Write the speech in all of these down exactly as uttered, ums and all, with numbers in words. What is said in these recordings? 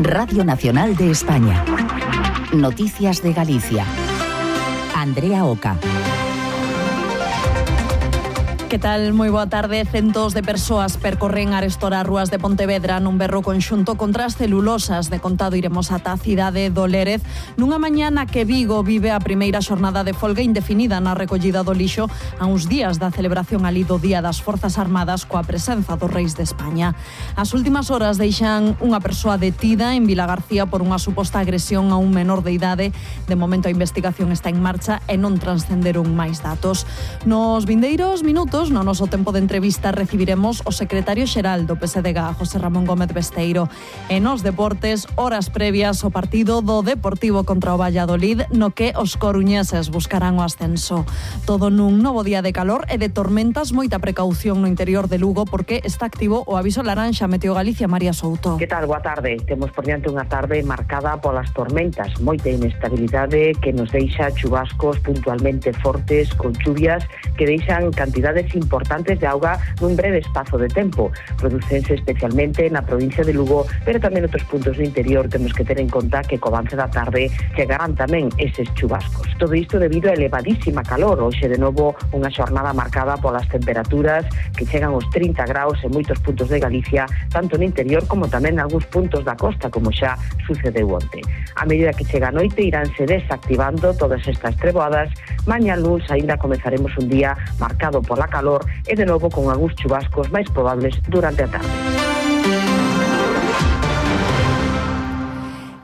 Radio Nacional de España. Noticias de Galicia. Andrea Oca. Que tal? Moi boa tarde. Centos de persoas percorren arestora as rúas de Pontevedra nun berro conxunto contra as celulosas. De contado iremos ata a cidade do Lérez nunha mañana que Vigo vive a primeira xornada de folga indefinida na recollida do lixo a uns días da celebración ali do Día das Forzas Armadas coa presenza dos Reis de España. As últimas horas deixan unha persoa detida en Vilagarcía por unha suposta agresión a un menor de idade. De momento a investigación está en marcha e non transcenderon máis datos. Nos vindeiros minutos, no noso tempo de entrevista, recibiremos o secretario xeral do P S D G, José Ramón Gómez Besteiro. E nos deportes, horas previas ao partido do Deportivo contra o Valladolid, no que os coruñeses buscarán o ascenso. Todo nun novo día de calor e de tormentas, moita precaución no interior de Lugo porque está activo o aviso laranxa. Meteo Galicia, María Souto. Que tal? Boa tarde. Temos por diante unha tarde marcada polas tormentas, moita inestabilidade que nos deixa chubascos puntualmente fortes con chuvias que deixan cantidades importantes de auga nun breve espazo de tempo. Producense especialmente na provincia de Lugo, pero tamén outros puntos do interior. Temos que ter en conta que co avance da tarde chegarán tamén eses chubascos. Todo isto debido a elevadísima calor. Hoxe de novo unha xornada marcada polas temperaturas que chegan aos trinta graus en moitos puntos de Galicia, tanto no interior como tamén en algúns puntos da costa, como xa sucedeu onte. A medida que chega a noite iránse desactivando todas estas treboadas. Mañá luns aínda comezaremos un día marcado pola calor e de novo con algúns chubascos máis probables durante a tarde.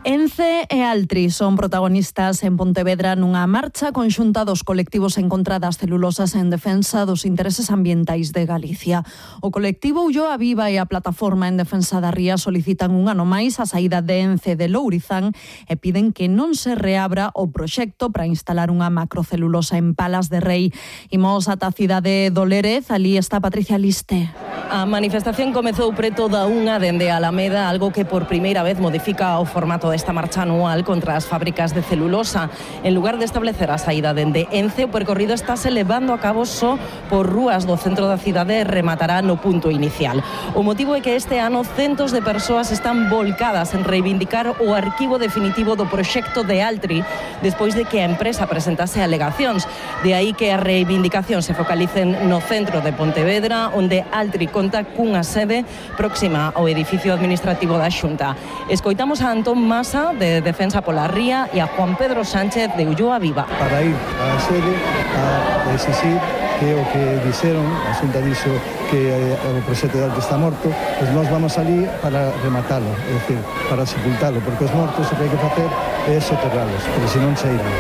Ence e Altri son protagonistas en Pontevedra nunha marcha conxunta dos colectivos en contra das celulosas en defensa dos intereses ambientais de Galicia. O colectivo Ulloa Viva e a plataforma en defensa da ría solicitan un ano máis a saída de Ence de Lourizán e piden que non se reabra o proxecto para instalar unha macrocelulosa en Palas de Rei. Imos ata a cidade do Lérez, ali está Patricia Liste. A manifestación comezou preto da unha dende a Alameda, algo que por primeira vez modifica o formato desta marcha anual contra as fábricas de celulosa. En lugar de establecer a saída dende Ence, o percorrido estáse levando a cabo só por rúas do centro da cidade e rematará no punto inicial. O motivo é que este ano centos de persoas están volcadas en reivindicar o arquivo definitivo do proxecto de Altri despois de que a empresa presentase alegacións. De aí que a reivindicación se focalicen no centro de Pontevedra, onde Altri conta cunha sede próxima ao edificio administrativo da Xunta. Escoitamos a Antón Masa, de Defensa pola Ría, e a Juan Pedro Sánchez, de Ulloa Viva. Para ir á sede a exixir que o que dixeron, a Xunta dixo que o proxecto de Altri está morto, pois nós vamos ali para rematalo, é dicir, para sepultalo, porque os mortos o que hai que facer é soterralos, porque senón se irán.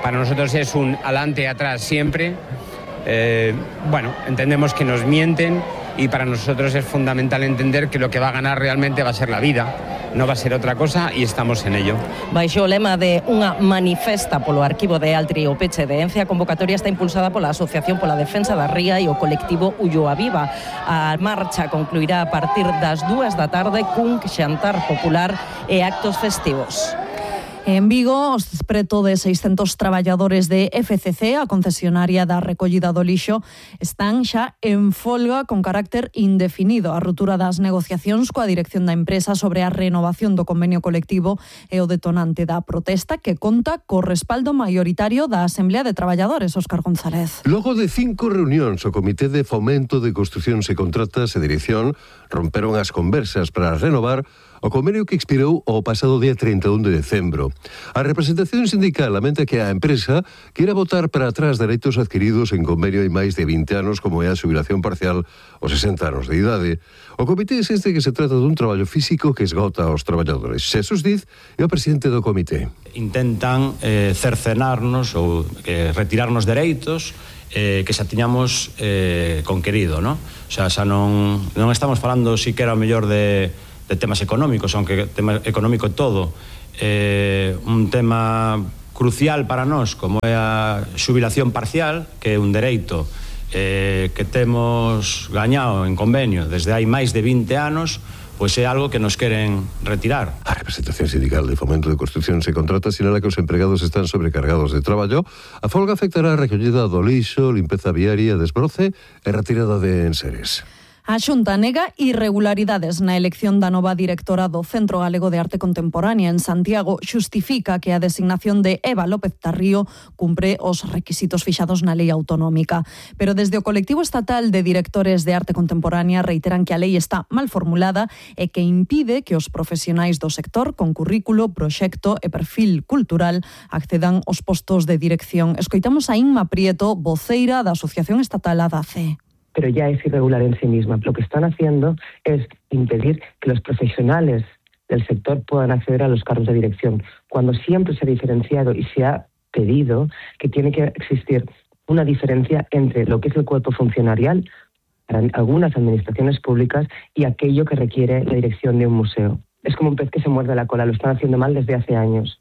Para nosotros es un adelante y atrás siempre. Eh, bueno, entendemos que nos mienten y para nosotros es fundamental entender que lo que va a ganar realmente va a ser la vida, no va a ser otra cosa y estamos en ello. Baixo o lema de unha manifesta polo arquivo de Altri o peche de Ence, a convocatoria está impulsada pola Asociación pola Defensa da Ría e o colectivo Ulloa Viva. A marcha concluirá a partir das dúas da tarde cun xantar popular e actos festivos. En Vigo, os preto de seiscentos traballadores de F C C, a concesionaria da recollida do lixo, están xa en folga con carácter indefinido. A ruptura das negociacións coa dirección da empresa sobre a renovación do convenio colectivo é o detonante da protesta que conta co respaldo maioritario da Asamblea de Traballadores, Óscar González. Logo de cinco reunións, o Comité de Fomento de Construcións e Contratas e Dirección romperon as conversas para renovar o convenio que expirou o pasado día trinta e un de decembro. A representación sindical lamenta que a empresa queira botar para atrás dereitos adquiridos en convenio hai máis de vinte anos, como é a xubilación parcial aos sesenta anos de idade. O comité insiste que se trata dun traballo físico que esgota aos traballadores. Xesús Diz é o presidente do comité. Intentan eh, cercenarnos ou eh, retirarnos dereitos eh, que xa tiñamos eh, conquerido, non? O sea, xa non, non estamos falando siquera o mellor de de temas económicos, aunque tema económico todo, eh, un tema crucial para nós, como é a xubilación parcial, que é un dereito eh, que temos gañado en convenio desde hai máis de vinte anos, pois é algo que nos queren retirar. A representación sindical de Fomento de Construcións e Contratas sinala que os empregados están sobrecargados de traballo. A folga afectará a recollida do lixo, limpeza viaria, desbroce e retirada de enseres. A Xunta nega irregularidades na elección da nova directora do Centro Galego de Arte Contemporánea en Santiago. Xustifica que a designación de Eva López Tarrío cumpre os requisitos fixados na lei autonómica. Pero desde o colectivo estatal de directores de arte contemporánea reiteran que a lei está mal formulada e que impide que os profesionais do sector con currículo, proxecto e perfil cultural accedan aos postos de dirección. Escoitamos a Inma Prieto, voceira da Asociación Estatal A D A C E. Pero ya es irregular en sí misma. Lo que están haciendo es impedir que los profesionales del sector puedan acceder a los cargos de dirección, cuando siempre se ha diferenciado y se ha pedido que tiene que existir una diferencia entre lo que es el cuerpo funcionarial para algunas administraciones públicas y aquello que requiere la dirección de un museo. Es como un pez que se muerde la cola, lo están haciendo mal desde hace años.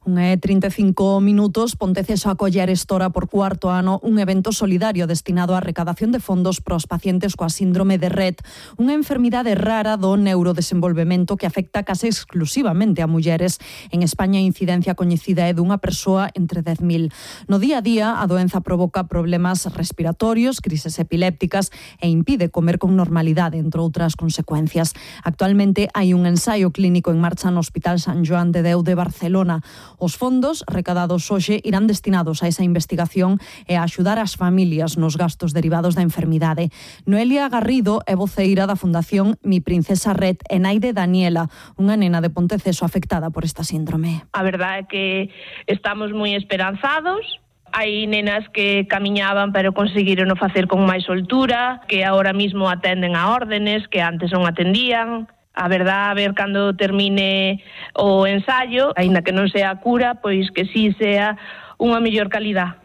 Unha e trinta e cinco minutos, Ponteceso acoller estora por cuarto ano un evento solidario destinado á recadación de fondos para os pacientes coa síndrome de Rett, unha enfermidade rara do neurodesenvolvemento que afecta case exclusivamente a mulleres. En España a incidencia coñecida é dunha persoa entre dez mil. No día a día, a doenza provoca problemas respiratorios, crises epilépticas e impide comer con normalidade, entre outras consecuencias. Actualmente hai un ensaio clínico en marcha no Hospital San Joan de Déu de Barcelona. Os fondos recadados hoxe irán destinados a esa investigación e a axudar as familias nos gastos derivados da enfermidade. Noelia Garrido é voceira da Fundación Mi Princesa Rett e nai de Daniela, unha nena de Ponteceso afectada por esta síndrome. A verdade é que estamos moi esperanzados. Hai nenas que camiñaban pero conseguiron o facer con máis soltura, que agora mismo atenden a órdenes que antes non atendían. A verdade, a ver cando termine o ensaio, aínda que non sea a cura, pois que sí sea unha mellor calidad.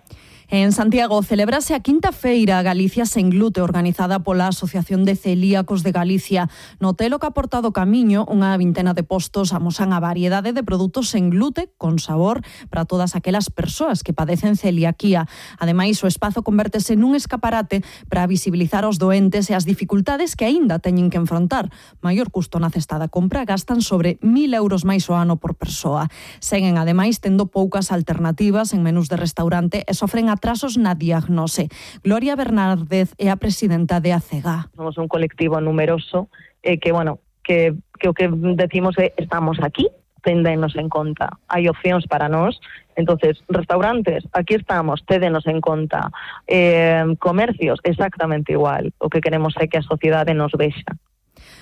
En Santiago celebrase a quinta feira Galicia sen glute organizada pola Asociación de Celíacos de Galicia. No Hotel O Caportado Camiño, unha vintena de postos amosan a variedade de produtos sen glute con sabor para todas aquelas persoas que padecen celiaquía. Ademais, o espazo convértese nun escaparate para visibilizar os doentes e as dificultades que aínda teñen que enfrontar. Maior custo na cesta da compra, gastan sobre mil euros máis o ano por persoa. Seguen, ademais, tendo poucas alternativas en menús de restaurante e sofren a atrasos na diagnose. Gloria Bernárdez é a presidenta de A C E G A. Somos un colectivo numeroso eh, que, bueno, que, que o que decimos é estamos aquí, téndenos en conta. Hai opcións para nós, entonces, restaurantes, aquí estamos, tédenos en conta. Eh, comercios, exactamente igual. O que queremos é que a sociedade nos vexa.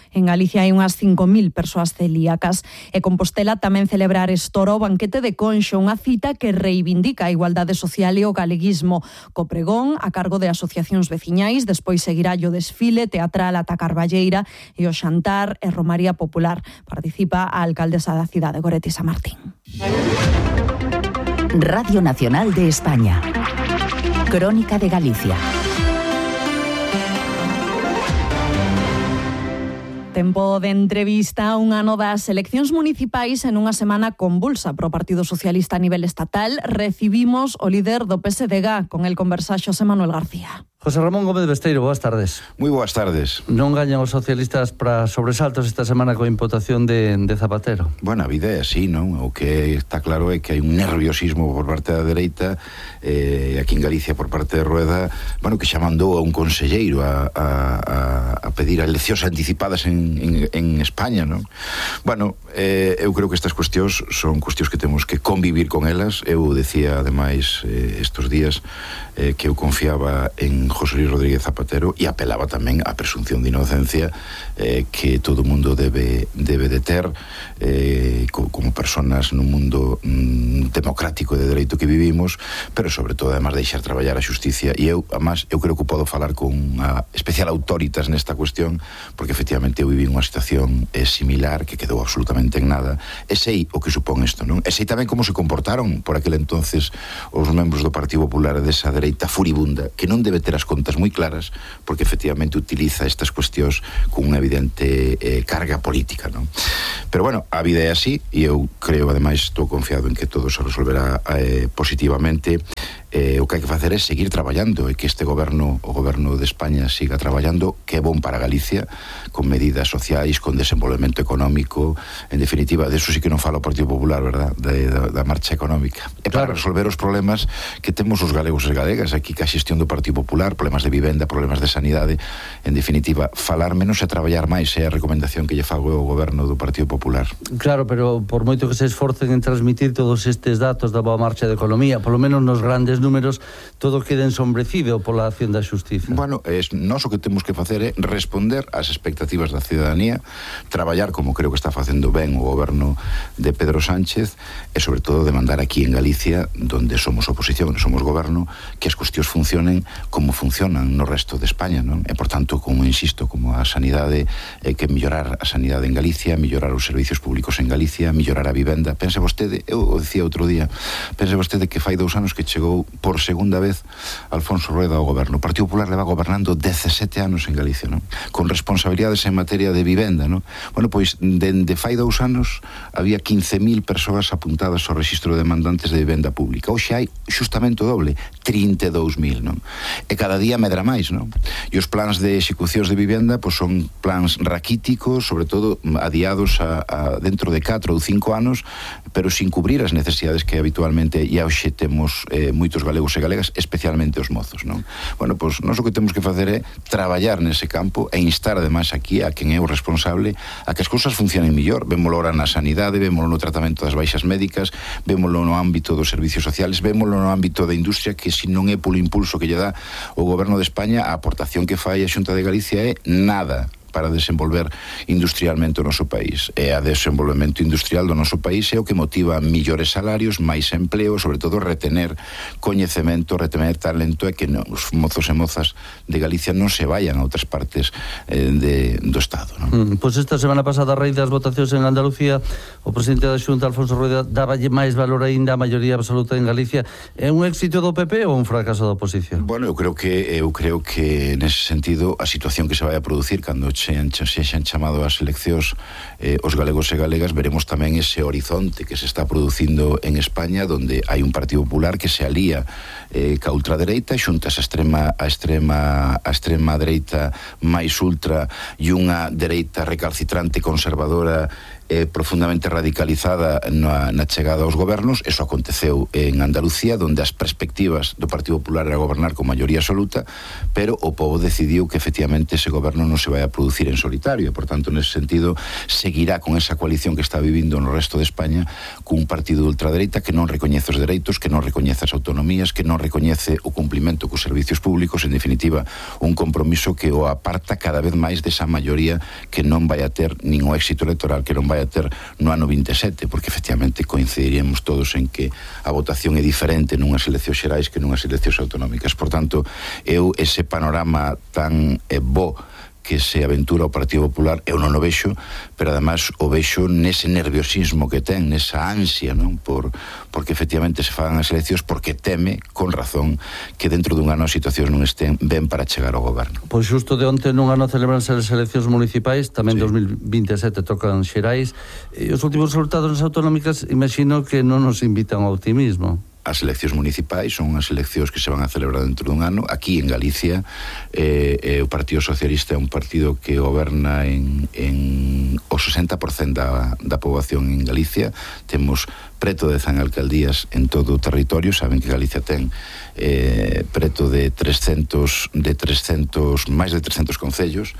En Galicia hai unhas cinco mil persoas celíacas e Compostela tamén celebra Arestora o banquete de Conxo, unha cita que reivindica a igualdade social e o galeguismo. Co pregón a cargo de asociacións veciñais, despois seguirá o desfile teatral ata Carballeira e o xantar e romaría popular. Participa a alcaldesa da cidade, Goretti Samartín. Radio Nacional de España. Crónica de Galicia. Tempo de entrevista, un ano das eleccións municipais en unha semana convulsa pro Partido Socialista a nivel estatal. Recibimos o líder do P S D G, con el conversa Xosé Manuel García. José Ramón Gómez Besteiro, boas tardes. Moi boas tardes. Non gañan os socialistas para sobresaltos esta semana coa imputación de, de Zapatero? Bueno, a vida é así, non? O que está claro é que hai un nerviosismo por parte da dereita, eh, aquí en Galicia por parte de Rueda, bueno, que xa mandou a un conselleiro a, a, a pedir eleccións anticipadas en, en, en España, non? Bueno, eh, eu creo que estas cuestións son cuestións que temos que convivir con elas. Eu decía, ademais, eh, estos días eh, que eu confiaba en José Luis Rodríguez Zapatero e apelaba tamén á presunción de inocencia eh, que todo o mundo debe, debe de ter eh, co, como personas nun mundo mm, democrático de dereito que vivimos, pero sobre todo además deixar traballar a xusticia. E eu, además, eu creo que podo falar con a especial autoritas nesta cuestión, porque efectivamente eu viví unha situación eh, similar que quedou absolutamente en nada, e sei o que supón isto, non? E sei tamén como se comportaron por aquel entonces os membros do Partido Popular desa dereita furibunda, que non debe ter as contas moi claras, porque efectivamente utiliza estas cuestións con unha evidente eh, carga política, non? Pero bueno, a vida é así, e eu creo, ademais, estou confiado en que todo se resolverá eh, positivamente. eh, o que hai que facer é seguir traballando e que este goberno, o goberno de España siga traballando, que é bon para Galicia, con medidas sociais, con desenvolvemento económico, en definitiva, de eso sí que non fala o Partido Popular, verdad, de, da, da marcha económica. E para claro. resolver os problemas que temos os galegos e galegas, aquí que a xestión do Partido Popular, problemas de vivenda, problemas de sanidade, en definitiva, falar menos e traballar máis é a recomendación que lle fago ao goberno do Partido Popular. Claro, pero por moito que se esforcen en transmitir todos estes datos da boa marcha da economía, polo menos nos grandes números, todo queda ensombrecido pola acción da xustiza. Bueno, es, nós o que temos que facer é responder ás expectativas da ciudadanía, traballar como creo que está facendo ben o goberno de Pedro Sánchez e sobre todo demandar aquí en Galicia, donde somos oposición e somos goberno, que as cuestións funcionen como funcionan no resto de España, non? E por tanto, como insisto, como a sanidade, eh, que mellorar a sanidade en Galicia, mellorar os servicios públicos en Galicia, mellorar a vivenda. Pense vostede, eu o dicía outro día, pense vostede que fai dous anos que chegou por segunda vez Alfonso Rueda ao goberno. O Partido Popular leva gobernando dezasete anos en Galicia, non? Con responsabilidades en materia de vivenda, non? Bueno, pois, dende fai dous anos había quince mil persoas apuntadas ao rexistro de demandantes de vivenda pública. Hoxe hai xustamente o doble, trinta e dous mil, non? E cada día medra máis, non? E os plans de execucións de vivenda, pois son plans raquíticos, sobre todo adiados a, a dentro de catro ou cinco anos, pero sin cubrir as necesidades que habitualmente e hoxe temos eh, moitos galegos e galegas, especialmente os mozos, non? Bueno, pois nós o que temos que facer é traballar nese campo e instar ademais aquí a quen é o responsable a que as cousas funcionen mellor. Vémolo ahora na sanidade, vémolo no tratamento das baixas médicas, vémolo no ámbito dos servicios sociales, vémolo no ámbito da industria, que se non é polo impulso que lle dá o goberno de España, a aportación que fai a Xunta de Galicia é nada para desenvolver industrialmente o noso país. E a desenvolvemento industrial do noso país é o que motiva millores salarios, máis empleo, sobre todo retener coñecemento, retener talento e que os mozos e mozas de Galicia non se vayan a outras partes eh, de, do Estado, non? Mm, pois esta semana pasada, a raíz das votacións en Andalucía, o presidente da Xunta, Alfonso Rueda, dáballe máis valor aínda a maioría absoluta en Galicia. É un éxito do P P ou un fracaso da oposición? Bueno, eu creo que eu creo que nese sentido a situación que se vai a producir cando se xan chamado as eleccións eh, os galegos e galegas, veremos tamén ese horizonte que se está producindo en España, donde hai un Partido Popular que se alía eh, ca ultradereita, xuntas a extrema a extrema a extrema dereita máis ultra e unha dereita recalcitrante conservadora eh, profundamente radicalizada na, na chegada aos gobernos. Eso aconteceu en Andalucía, donde as perspectivas do Partido Popular era gobernar con maioría absoluta, pero o povo decidiu que efectivamente ese goberno non se vai a producir en solitario, e por tanto, nese sentido, seguirá con esa coalición que está vivindo no resto de España cun partido de ultradereita que non recoñece os dereitos, que non recoñece as autonomías, que non recoñece o cumplimento cos servicios públicos, en definitiva, un compromiso que o aparta cada vez máis desa maioría que non vai a ter nin o éxito electoral que non vai a ter no ano vinte e sete, porque efectivamente coincidiríamos todos en que a votación é diferente nunhas eleccións xerais que nunhas eleccións autonómicas. Por tanto, eu ese panorama tan eh, bo que se aventura o Partido Popular, eu non o vexo, pero además o vexo nese nerviosismo que ten, nesa ansia, non? Por, porque efectivamente se fagan as eleccións, porque teme, con razón, que dentro dun ano as situacións non estén ben para chegar ao goberno. Pois xusto de onte nun ano celebranse as eleccións municipais, tamén sí. dos mil vinte e sete tocan xerais, e os últimos resultados nas autonómicas imagino que non nos invitan ao optimismo. As eleccións municipais son as eleccións que se van a celebrar dentro dun ano. Aquí en Galicia eh, eh, o Partido Socialista é un partido que goberna en, en o sesenta por cento da, da poboación en Galicia. Temos preto de cen alcaldías en todo o territorio. Saben que Galicia ten eh, preto de trescentos, de trescentos, máis de trescentos concellos.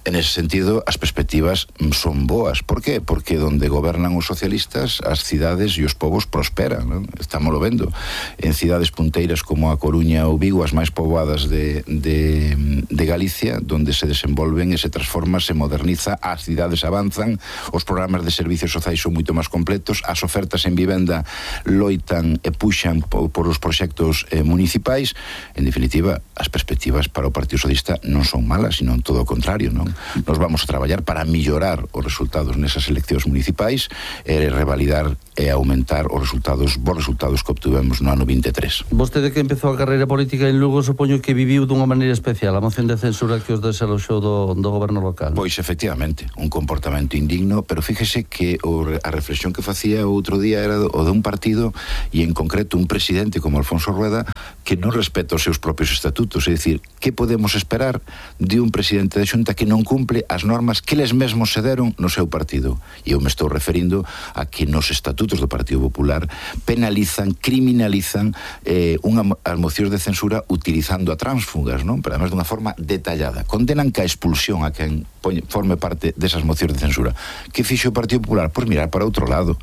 En ese sentido, as perspectivas son boas. Por qué? Porque donde gobernan os socialistas, as cidades e os povos prosperan, non? Estámoslo vendo. En cidades punteiras como a Coruña ou Vigo, as máis poboadas de, de, de Galicia, donde se desenvolven e se transforma, se moderniza, as cidades avanzan, os programas de servicios sociais son moito máis completos, as ofertas en vivenda loitan e puxan por, por os proxectos eh, municipais. En definitiva, as perspectivas para o Partido Socialista non son malas, sino todo o contrario, non? Nos vamos a traballar para millorar os resultados nesas eleccións municipais e revalidar e aumentar os resultados, bons resultados que obtuvemos no ano vinte e tres. Vostede que empezou a carreira política en Lugo, supoño que viviu dunha maneira especial a moción de censura que os desaloxou do, do goberno local. Pois efectivamente, un comportamento indigno, pero fíjese que o, a reflexión que facía outro día era o de un partido e en concreto un presidente como Alfonso Rueda que non respeta os seus propios estatutos, é dicir, que podemos esperar de un presidente da Xunta que non cumple as normas que eles mesmos se deron no seu partido? E eu me estou referindo a que nos estatutos do Partido Popular penalizan, criminalizan eh, unha, as mocións de censura utilizando a tránsfugas, non? Pero además dunha forma detallada. Condenan ca expulsión a quen forme parte desas mocións de censura. Que fixo o Partido Popular? Pois mirar para outro lado,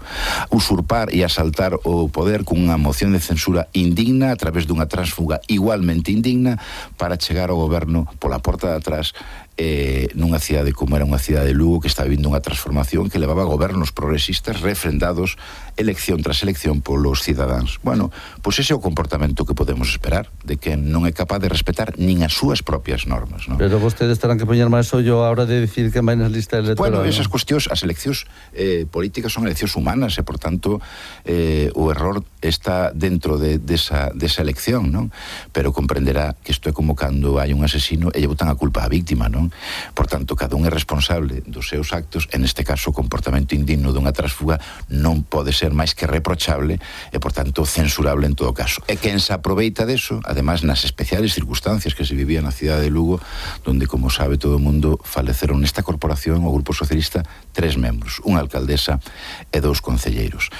usurpar e asaltar o poder cunha moción de censura indigna a través dunha tránsfuga igualmente indigna para chegar ao goberno pola porta de atrás eh, nunha cidade como era unha cidade de Lugo que está vivindo unha transformación que levaba a gobernos progresistas refrendados elección tras elección polos cidadáns. Bueno, pois ese é o comportamento que podemos esperar de que non é capaz de respetar nin as súas propias normas, non? Pero vostedes terán que poñer máis ollo a hora de dicir que vai nas listas electorales. Bueno, esas cuestións, as eleccións eh, políticas son eleccións humanas e, por tanto, eh, o error está dentro de, desa, desa elección, non? Pero comprenderá que isto é como cando hai un asesino e lle botan a culpa á víctima, non? Por tanto, cada un é responsable dos seus actos, en este caso o comportamento indigno dunha trasfuga non pode ser máis que reprochable e, por tanto, censurable en todo caso. E quen se aproveita deso, además nas especiales circunstancias que se vivía na cidade de Lugo, donde, como sabe todo o mundo, faleceron nesta corporación o Grupo Socialista tres membros, unha alcaldesa e dous concelleiros.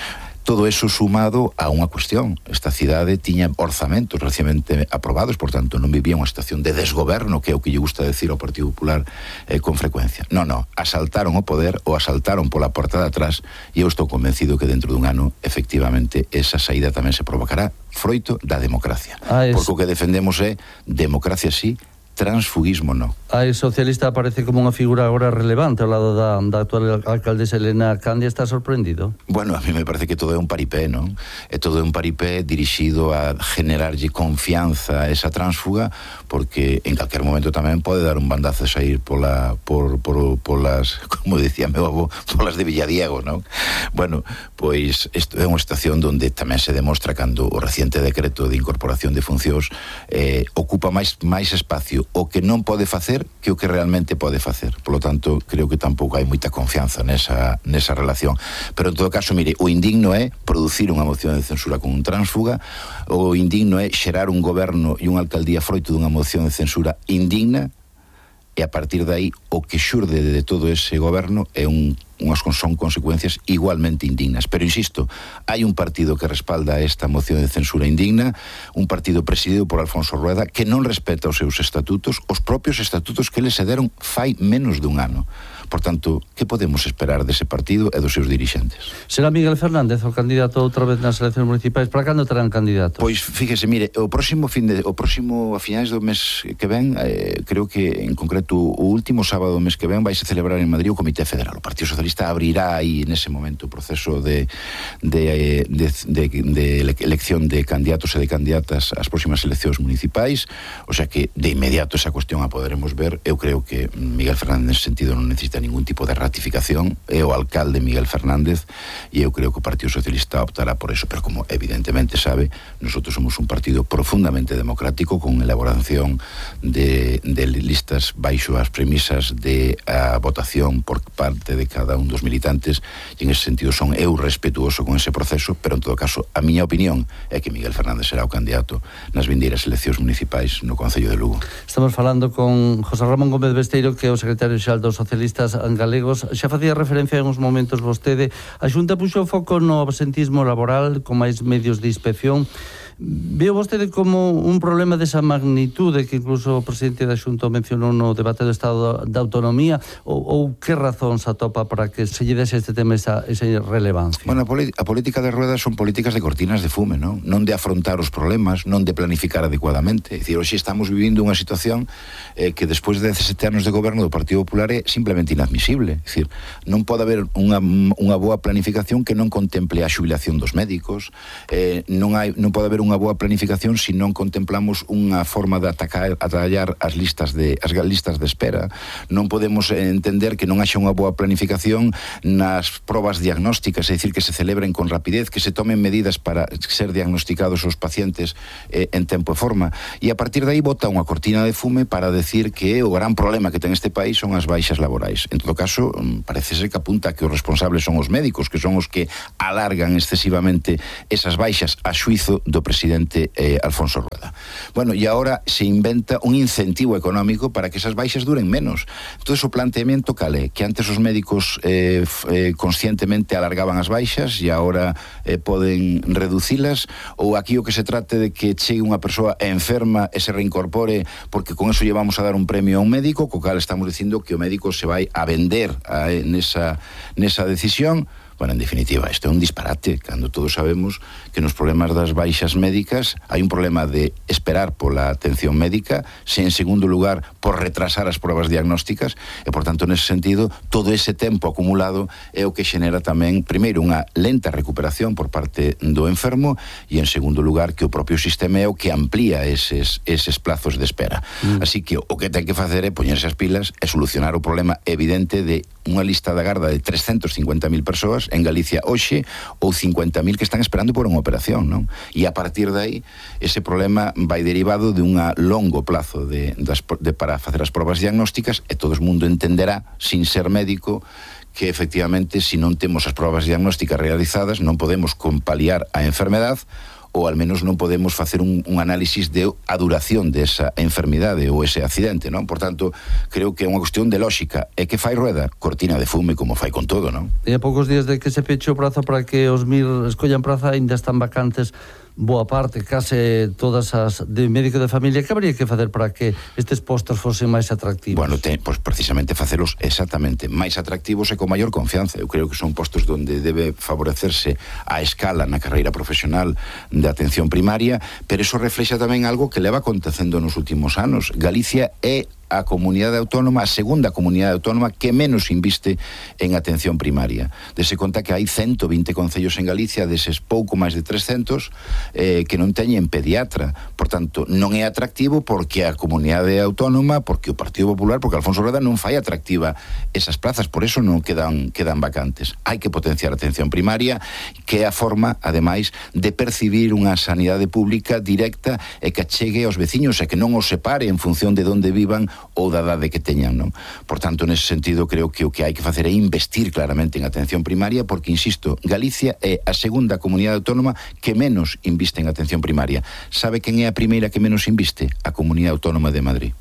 Todo eso sumado a unha cuestión. Esta cidade tiña orzamentos recientemente aprobados, por tanto, non vivía unha situación de desgoberno, que é o que lle gusta decir ao Partido Popular eh, con frecuencia. Non, non, asaltaron o poder ou asaltaron pola porta de atrás e eu estou convencido que dentro dun ano, efectivamente, esa saída tamén se provocará froito da democracia. Ah, es... Porque o que defendemos é democracia sí, transfugismo no. A socialista aparece como unha figura agora relevante ao lado da, da actual alcaldesa Elena Candia. Está sorprendido? Bueno, a mí me parece que todo é un paripé, non? É todo un paripé dirixido a generarlle confianza a esa tránsfuga, porque en calquer momento tamén pode dar un bandazo e sair pola, por, por, polas, como decía meu avó, polas de Villadiego, non? Bueno, pois isto é unha situación donde tamén se demostra cando o reciente decreto de incorporación de funcións eh, ocupa máis, máis espacio o que non pode facer que o que realmente pode facer. Por lo tanto, creo que tampouco hai moita confianza nesa, nesa relación. Pero en todo caso, mire, o indigno é producir unha moción de censura con un tránsfuga, o indigno é xerar un goberno e unha alcaldía froito dunha moción de censura indigna, e a partir de aí o que xurde de todo ese goberno é un, unhas son consecuencias igualmente indignas. Pero insisto, hai un partido que respalda esta moción de censura indigna, un partido presidido por Alfonso Rueda que non respeta os seus estatutos, os propios estatutos que eles se deron fai menos dun ano. Por tanto, que podemos esperar dese partido e dos seus dirixentes? Será Miguel Fernández o candidato outra vez nas eleccións municipais? Para cando terán candidato? Pois fíjese, mire, o próximo fin de, o próximo a finais do mes que ven, eh, creo que en concreto o último sábado do mes que ven vai se celebrar en Madrid o Comité Federal. O Partido Socialista abrirá aí nese momento o proceso de, de, de, de, de elección de candidatos e de candidatas ás próximas eleccións municipais, o sea que de inmediato esa cuestión a poderemos ver. Eu creo que Miguel Fernández nesse sentido non necesita ningún tipo de ratificación, é o alcalde Miguel Fernández e eu creo que o Partido Socialista optará por eso, pero como evidentemente sabe, nosotros somos un partido profundamente democrático con elaboración de, de listas baixo as premisas de a votación por parte de cada un dos militantes, e en ese sentido son eu respetuoso con ese proceso, pero en todo caso a miña opinión é que Miguel Fernández será o candidato nas vindeiras eleccións municipais no Concello de Lugo. Estamos falando con José Ramón Gómez Besteiro, que é o secretario xeral dos socialistas galegos. Xa facía referencia en uns momentos vostede. A Xunta puxo o foco no absentismo laboral con máis medios de inspección. Veo vostede como un problema desa magnitude que incluso o presidente da Xunta mencionou no debate do Estado da Autonomía, ou, ou que razón se atopa para que se lle dese este tema esa, esa relevancia? Bueno, a, a política de Rueda son políticas de cortinas de fume, non? Non de afrontar os problemas, non de planificar adecuadamente. É dicir, hoxe estamos vivindo unha situación eh, que despois de dezasete anos de goberno do Partido Popular é simplemente inadmisible. É dicir, non pode haber unha, unha boa planificación que non contemple a xubilación dos médicos, eh, non, hai, non pode haber unha boa planificación se non contemplamos unha forma de atacar, atallar as listas de as listas de espera. Non podemos entender que non haxa unha boa planificación reducción nas probas diagnósticas, é dicir, que se celebren con rapidez, que se tomen medidas para ser diagnosticados os pacientes eh, en tempo e forma, e a partir de aí bota unha cortina de fume para decir que o gran problema que ten este país son as baixas laborais. En todo caso, parece ser que apunta que os responsables son os médicos, que son os que alargan excesivamente esas baixas a xuizo do presidente eh, Alfonso Rueda. Bueno, e agora se inventa un incentivo económico para que esas baixas duren menos. Entón, o planteamiento cale, que antes os médicos eh, eh, conscientemente alargaban as baixas e agora eh, poden reducilas, ou aquí o que se trate de que chegue unha persoa enferma e se reincorpore porque con eso llevamos a dar un premio a un médico, co cal estamos dicindo que o médico se vai a vender a, nesa, nesa decisión. Bueno, en definitiva, isto é un disparate, cando todos sabemos que nos problemas das baixas médicas hai un problema de esperar pola atención médica, se en segundo lugar por retrasar as probas diagnósticas, e por tanto, nese sentido, todo ese tempo acumulado é o que xenera tamén, primeiro, unha lenta recuperación por parte do enfermo, e en segundo lugar, que o propio sistema é o que amplía eses, eses plazos de espera. Mm. Así que o que ten que facer é poñerse as pilas e solucionar o problema evidente de unha lista de agarda de trescentos cincuenta mil persoas en Galicia hoxe, ou cincuenta mil que están esperando por unha operación, non? E a partir de aí, ese problema vai derivado de un longo plazo de, de, de, para facer as probas diagnósticas, e todo o mundo entenderá, sin ser médico, que efectivamente, se non temos as probas diagnósticas realizadas, non podemos compaliar a enfermedade, ou al menos non podemos facer un, un análisis de a duración desa enfermidade ou ese accidente, non? Por tanto, creo que é unha cuestión de lógica. E que fai Rueda? Cortina de fume, como fai con todo, non? E a poucos días de que se peche o prazo para que os M I R escollan praza, ainda están vacantes boa parte, case todas as de médico de familia. Que habría que facer para que estes postos fosen máis atractivos? Bueno, te, pues precisamente facelos exactamente máis atractivos e con maior confianza. Eu creo que son postos onde debe favorecerse a escala na carreira profesional de atención primaria, pero eso reflexa tamén algo que leva acontecendo nos últimos anos. Galicia é a comunidade autónoma, a segunda comunidade autónoma que menos inviste en atención primaria. Dese conta que hai ciento vinte concellos en Galicia, deses pouco máis de trescentos, eh, que non teñen pediatra. Por tanto, non é atractivo porque a comunidade autónoma, porque o Partido Popular, porque Alfonso Rueda non fai atractiva esas plazas, por eso non quedan, quedan vacantes. Hai que potenciar a atención primaria, que é a forma, ademais, de percibir unha sanidade pública directa e que chegue aos veciños e que non os separe en función de onde vivan ou da idade que teñan, non? Por tanto, nese sentido, creo que o que hai que facer é investir claramente en atención primaria, porque, insisto, Galicia é a segunda comunidade autónoma que menos inviste en atención primaria. Sabe quen é a primeira que menos inviste? A Comunidade Autónoma de Madrid.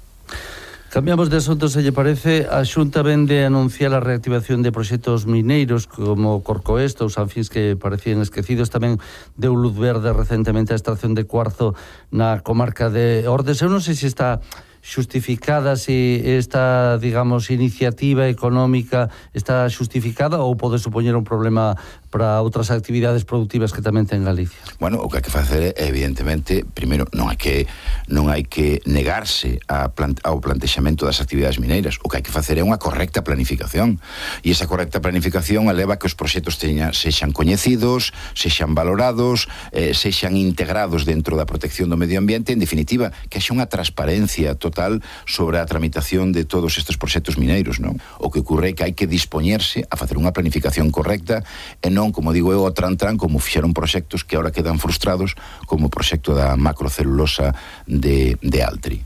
Cambiamos de asunto, se lle parece. A Xunta vende anunciar a reactivación de proxectos mineiros como Corcoesto ou Sanfins, que parecían esquecidos. Tamén deu luz verde recentemente a extracción de cuarzo na comarca de Ordes. Eu non sei se está xustificada, se esta, digamos, iniciativa económica está xustificada ou pode supoñer un problema para outras actividades productivas que tamén ten Galicia. Bueno, o que hai que facer é, evidentemente, primeiro, non hai que non hai que negarse a plant, ao plantexamento das actividades mineiras. O que hai que facer é unha correcta planificación. E esa correcta planificación eleva que os proxectos teñan, sexan coñecidos, sexan valorados, eh, sexan integrados dentro da protección do medio ambiente, en definitiva, que haxa unha transparencia total sobre a tramitación de todos estes proxectos mineiros, non? O que ocorre é que hai que dispoñerse a facer unha planificación correcta e non, como digo eu, o tran-tran, como fixeron proxectos que ahora quedan frustrados, como o proxecto da macrocelulosa de, de Altri.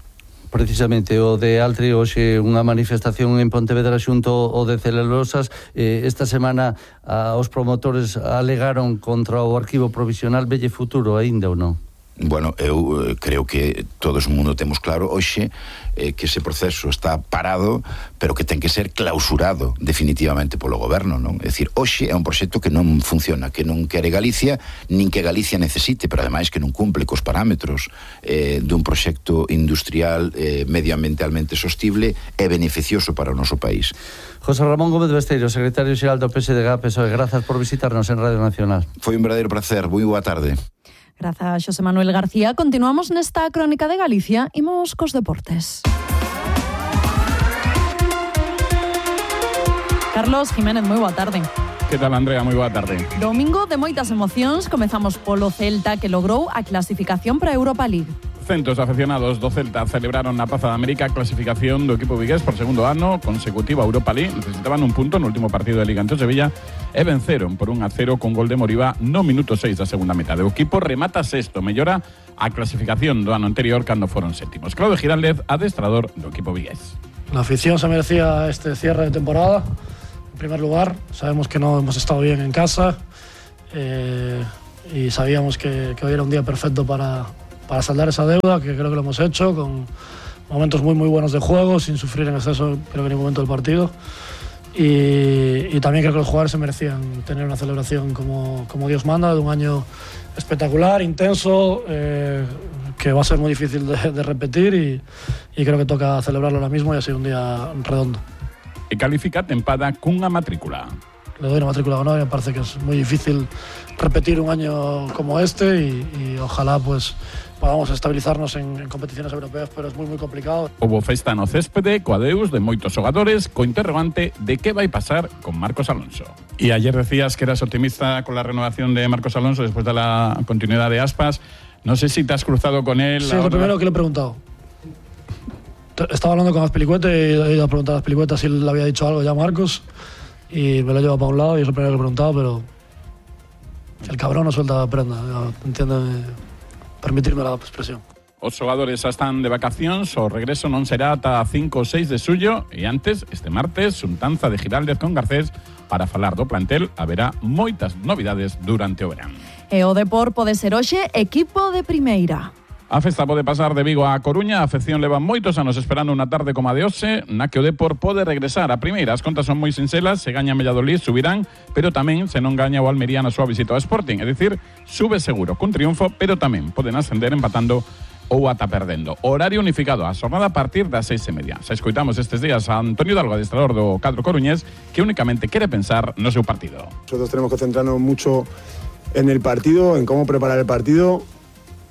Precisamente o de Altri, hoxe unha manifestación en Pontevedra xunto o de celulosas. Eh, esta semana a, os promotores alegaron contra o arquivo provisional. Velle futuro aínda ou non? Bueno, eu eh, creo que todos o mundo temos claro hoxe eh, que ese proceso está parado, pero que ten que ser clausurado definitivamente polo goberno, non? É dicir, hoxe é un proxecto que non funciona, que non quere Galicia, nin que Galicia necesite, pero ademais que non cumple cos parámetros eh, dun proxecto industrial eh, medioambientalmente sostible e beneficioso para o noso país. José Ramón Gómez Besteiro, secretario xeral do P S D G, P S O E, grazas por visitarnos en Radio Nacional. Foi un verdadeiro placer, moi boa tarde. Grazas, Xosé Manuel García. Continuamos nesta crónica de Galicia. Imos cos deportes. Carlos Jiménez, moi boa tarde. Que tal, Andrea? Moi boa tarde. Domingo de moitas emocións. Comezamos polo Celta, que logrou a clasificación para a Europa League. Centos de afeccionados do Celta celebraron na Praza da América a clasificación do equipo vigués por segundo ano consecutiva a Europa League. Necesitaban un punto no último partido de Liga ante o Sevilla e venceron por un a cero con gol de Moriba no minuto seis da segunda metade. O equipo remata sexto, mellora a clasificación do ano anterior cando foron sétimos. Claudio Giraldez, adestrador do equipo vigués. La afición se merecía este cierre de temporada. En primer lugar, sabemos que no hemos estado bien en casa eh, y sabíamos que, que hoy era un día perfecto para, para saldar esa deuda, que creo que lo hemos hecho, con momentos muy muy buenos de juego, sin sufrir en exceso creo que en ningún momento del partido. Y, y también creo que los jugadores se merecían tener una celebración como, como Dios manda, de un año espectacular, intenso, eh, que va a ser muy difícil de, de repetir y, y creo que toca celebrarlo ahora mismo y ha sido un día redondo. E califica tempada cunha matrícula. Le doy una matrícula de honor y me parece que es muy difícil repetir un año como este y, y ojalá pues podamos estabilizarnos en, en competiciones europeas, pero es muy muy complicado. Houbo festa no céspede, co adeus de moitos xogadores, co interrogante de que vai pasar con Marcos Alonso. Y ayer decías que eras optimista con la renovación de Marcos Alonso después de la continuidad de Aspas. No sé si te has cruzado con él. Sí, es lo primero que le he preguntado. Estaba hablando con Azpilicueta y he ido a preguntar a Azpilicueta si le había dicho algo ya a Marcos y me lo he llevado para un lado y es lo primero que le he preguntado, pero el cabrón no suelta prenda, entiéndeme, permitirme la expresión. Os xogadores xa están de vacacións, o regreso non será ata cinco ou seis de xullo e antes, este martes, xuntanza de Giraldez con Garcés para falar do plantel, haberá moitas novidades durante o verán. E o Depor pode ser hoxe equipo de primeira. A festa pode pasar de Vigo a Coruña. A afección leva moitos anos esperando unha tarde como a de hoxe, na que o Depor pode regresar a primeira. As contas son moi sincelas, se gaña Valladolid subirán, pero tamén se non gaña o Almería na súa visita ao Sporting, é dicir, sube seguro cun triunfo, pero tamén poden ascender empatando ou ata perdendo. Horario unificado, a xornada a partir das seis e media. Se escoitamos estes días a Antonio Hidalgo, adestrador do cadro coruñés, que únicamente quere pensar no seu partido. Nosotros tenemos que centrarnos mucho en el partido, en cómo preparar el partido,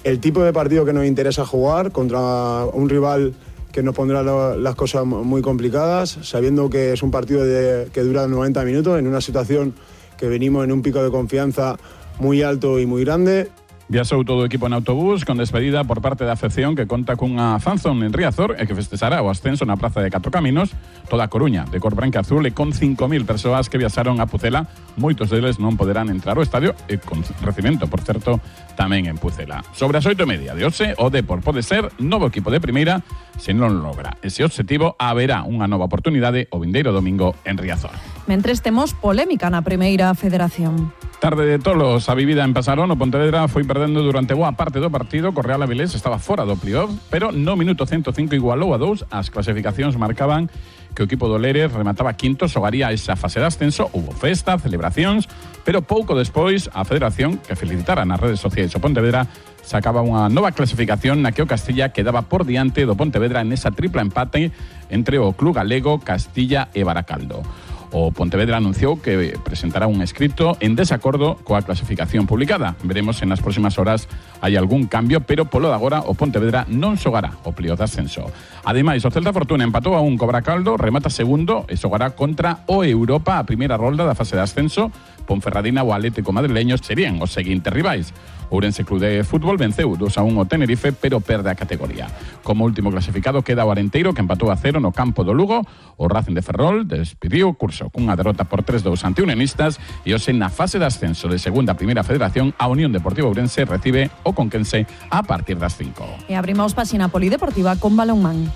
el tipo de partido que nos interesa jugar contra un rival que nos pondrá lo, las cosas muy complicadas, sabiendo que es un partido de, que dura noventa minutos, en una situación que venimos en un pico de confianza muy alto y muy grande. Viaxou todo o equipo en autobús con despedida por parte da afección que conta cunha fanzón en Riazor e que festexará o ascenso na Praza de Catro Caminos, toda a Coruña de cor branca azul e con cinco mil persoas que viaxaron a Pucela. Moitos deles non poderán entrar ao estadio e con recibimento, por certo, tamén en Pucela. Sobre as oito e media de hoxe, o Depor pode ser novo equipo de primeira se non logra ese obxectivo, haberá unha nova oportunidade o vindeiro domingo en Riazor. Mentres temos polémica na primeira federación. Tarde de tolos a vivida en Pasarón, o Pontevedra foi perdendo durante boa parte do partido, co Real Avilés estaba fora do playoff, pero no minuto ciento cinco igualou a dous, as clasificacións marcaban que o equipo do Lérez remataba quinto, xogaría esa fase de ascenso, hubo festa, celebracións, pero pouco despois a Federación, que felicitara nas redes sociais o Pontevedra, sacaba unha nova clasificación na que o Castilla quedaba por diante do Pontevedra en esa tripla empate entre o club galego, Castilla e Baracaldo. O Pontevedra anunciou que presentará un escrito en desacordo coa clasificación publicada. Veremos se nas próximas horas hai algún cambio, pero polo de agora o Pontevedra non xogará o playoff de ascenso. Ademais, o Celta Fortuna empatou a un co Baracaldo, remata segundo e xogará contra o Europa a primeira rolda da fase de ascenso. Ponferradina ou Atlético Madrileño serían os seguintes rivais. Ourense Club de Fútbol venceu dos a un o Tenerife, pero perde a categoría. Como último clasificado queda o Arenteiro, que empatou a cero no campo do Lugo. O Racing de Ferrol despediu o curso cunha derrota por tres a dous ante Unionistas e hoxe na fase de ascenso de segunda a primeira federación a Unión Deportiva Ourense recibe o Conquense a partir das cinco. E abrimos páxina polideportiva con balonmán.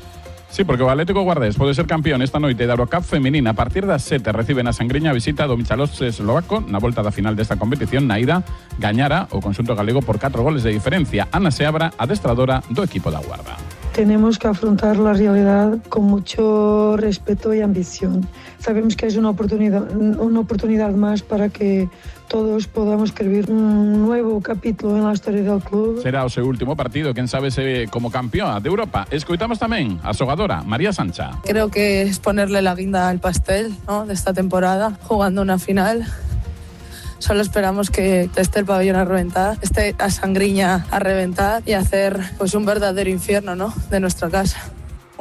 Sí, porque o Atlético Guardés pode ser campeón esta noite da Eurocup femenina. A partir das sete recibe na Sangriña a visita do Michalovce eslovaco na volta da final desta competición. Na ida gañara o conxunto galego por catro goles de diferencia. Ana Seabra, adestradora do equipo da Guarda. Tenemos que afrontar la realidad con mucho respeto y ambición. Sabemos que es una oportunidad, una oportunidad más para que todos podamos escribir un nuevo capítulo en la historia del club. Será o seu último partido, quen sabe se como campeona de Europa. Escoitamos tamén a xogadora María Sancha. Creo que es ponerle la guinda al pastel, ¿no?, de esta temporada, jugando una final. Solo esperamos que esté el pabellón a reventar, esté a Sangriña a reventar y hacer pues un verdadero infierno, ¿no?, de nuestra casa.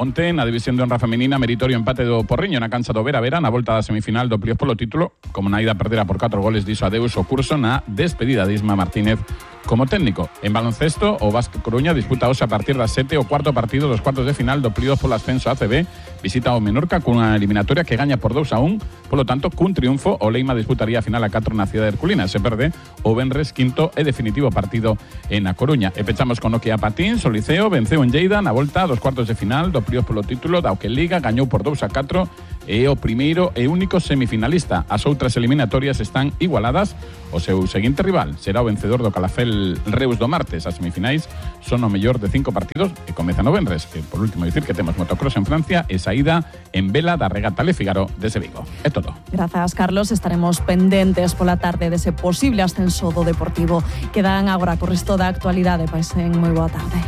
Onte, na división de honra femenina, meritorio empate do Porriño na cancha do Vera Vera na volta da semifinal do playoff polo título. Como na ida perdera por catro goles, dixo adeus o curso na despedida de Isma Martínez como técnico. En baloncesto, o Básquet Coruña disputa hoxe a partir das sete o cuarto partido dos cuartos de final do playoff polo ascenso A C B. Visita o Menorca cunha eliminatoria que gaña por dous a un. Polo tanto, cun triunfo, o Leima disputaría a final a catro na cidade de Herculina. Se perde, o venres quinto e definitivo partido en A Coruña. E pechamos con Nokia Patins. O Liceo venceu en Lleida na volta dos cuartos de final do playoff polo título da que Liga, gañou por dous a catro e o primeiro e único semifinalista. As outras eliminatorias están igualadas. O seu seguinte rival será o vencedor do Calafel Reus do martes. As semifinais son o mellor de cinco partidos e comezan o venres. E por último dicir que temos motocross en Francia e saída en vela da regata Le Figaro desde Vigo. É todo. Grazas, Carlos. Estaremos pendentes pola tarde dese posible ascenso do Deportivo. Quedan agora co resto da actualidade. Paisen moi boa tarde.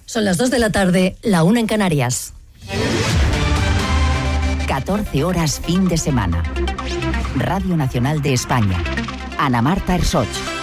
Son las dos de la tarde, la una en Canarias. catorce horas fin de semana. Radio Nacional de España. Ana Marta Ersoch.